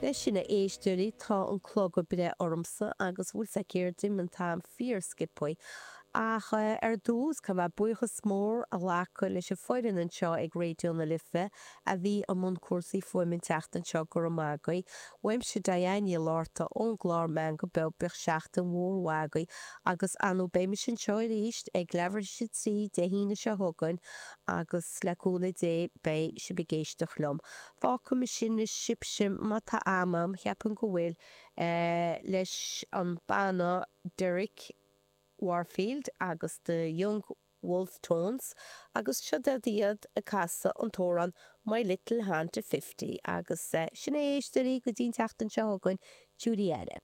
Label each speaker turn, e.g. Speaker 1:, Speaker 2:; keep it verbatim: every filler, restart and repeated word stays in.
Speaker 1: Leis sin, a éisteoirí, tá an clog ag breith ormsa agus bhfuil sé céard an t-am fíorsciobtha. Ach ar dtús, caithfidh mé buíochas mór a ghlacadh leis an foireann anseo ag Raidió na Life a bhí i mbun cúrsaí fuaime an tseachtain seo, go raibh maith agaibh. Uaimse Diane Ní Fhlatharta ón gclár Meangadh Beo, bíodh seachtain mhór mhaith agaibh agus ar ndóigh beidh mise anseo arís ag leathuair tar éis a trí Dé hAoine seo chugainn agus le cúnamh Dé beidh sibh ag éisteacht liom. Fágfaidh mise anois sibhse má tá am a'm, cheapfainn go bhfuil, leis an banna Derek Warfield agus The Young Wolfe Tones agus seo iad ag casadh an t-amhrán My Little Honda Fifty agus sin é, a éisteoirí, go dtí an tseachtain seo chugainn, Judy Eile.